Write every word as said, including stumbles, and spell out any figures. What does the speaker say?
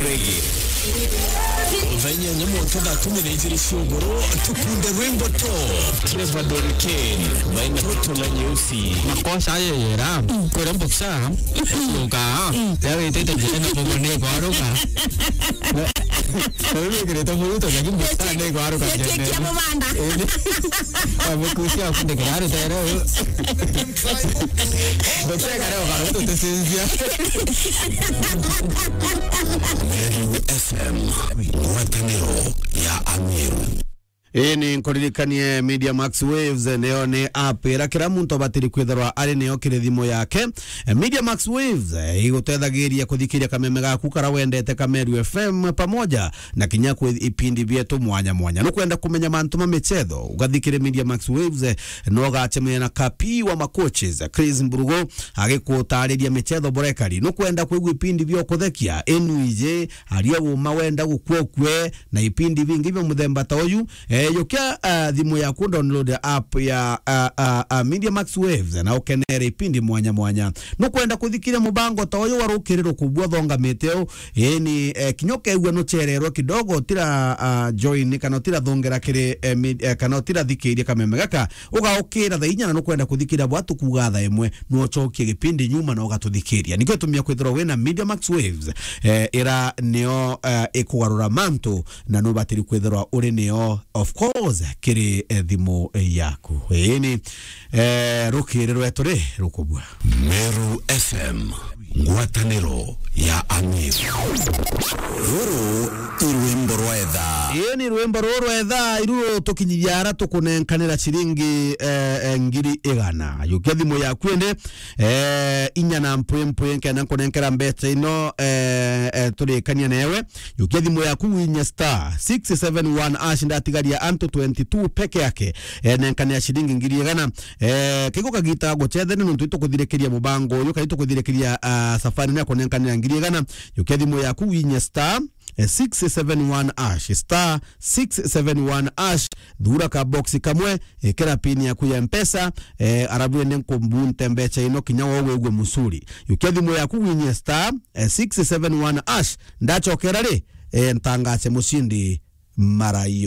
Reggae. Thaa inyanya mwanka thaa kumi na ijiri cia ugoro, tukunde rwimbo to Trevor Doriken, baina Toto na Nyeusi. Makosa ayo yera, kwera mboksa, nunka, ya witete njira na bobo ni kwaruka. Riu wikirite muruto, lakini mboksa ni kwaruka. Kia mubanda. Amukucia kundikira rutere. Mboksa kare ukaruto tesinzia. Meru F M, ngwataniro ya Ameru. Ii ni nkuririkanie Media Max Waves, niyo ni app ira kira muntu abatiri kwithirwa ari niyo kiri thimu yake. Eh, Media Max Waves, eh, igutethagiria kuthikiria kameme gaku kara wendete ka Meru F M pamoja na kinya kwi ipindi bietu mwanya mwanya. Nukwenda kumenya mantu ma michetho, ugathikire Media Max Waves, eh, no ugacemania na Kapi wa Macoaches, Chris Mburugu, agikutariria michetho burekari. Nukwenda kwigua ipindi bia ukuthekia, Enuije, Aria Uma Wenda Gukua Ukue, na ipindi bingi bia muthemba ta uyu. Eh, yukia, ah, thimu yaku download app ya, ah, ah, ah, Media Max Waves na ukenere ipindi mwanya mwanya. Nukwenda kuthikiria mubango ta uyu wa rukiri rukubua thongamite u, Ii ni, eh, kinya ukeigua nuchererwe kidogo, utira, ah, join kana utira thongera kiri, eh, mid-, eh, kana utira thikiria kameme gaka, ugaukira thaa inya na nukwenda kuthikiria bwa tukuga thaa imwe, nuochokie gipindi nyuma na ugatuthikiria. Nikio itumia kwithirwa wina Media Max Waves, eh, ira niyo, eh, ikugarura mantu na nubatiri kwithirwa uri niyo, of course, kiri, eh, thimu yaku. Ii ni, eh, rukiri rwetu ri rukubua. Meru F M. Ngwataniro ya Ameru. Ruru i rwimbo rwa etha. Ii ni rwimbo ruru rwa etha, iru rutukinyithia ara tukunenkanira ciringi, eh, eh, ngiri igana. Yukia thimu yaku indi, eh, inya na mpwi mpwi nkenda nkunenkera mbeca ino, eh, eh, turikania newe. Yukia thimu yaku winye star six seven one hash, ndatigaria antu twenty two peke yake. Eh, nenkania ciringi ngiri igana. Eh, kigo kagita gucethene nontu itukuthirikiria mubango uyu, kana itukuthirikiria, ah, safari ni akunenkanira ngiri igana. Yukia thimu yaku winye star, eh, six seven one hash, star six seven one hash, thura ka box kamwe, ikira pin yaku ya Mpesa, eh, arabu ende nkumbunte mbeca ino kinya wo wigue musuri. Yukia thimu yaku winye star, eh, six seven one hash, ndachokera ri, eh, ntangace mucindi mara iyo.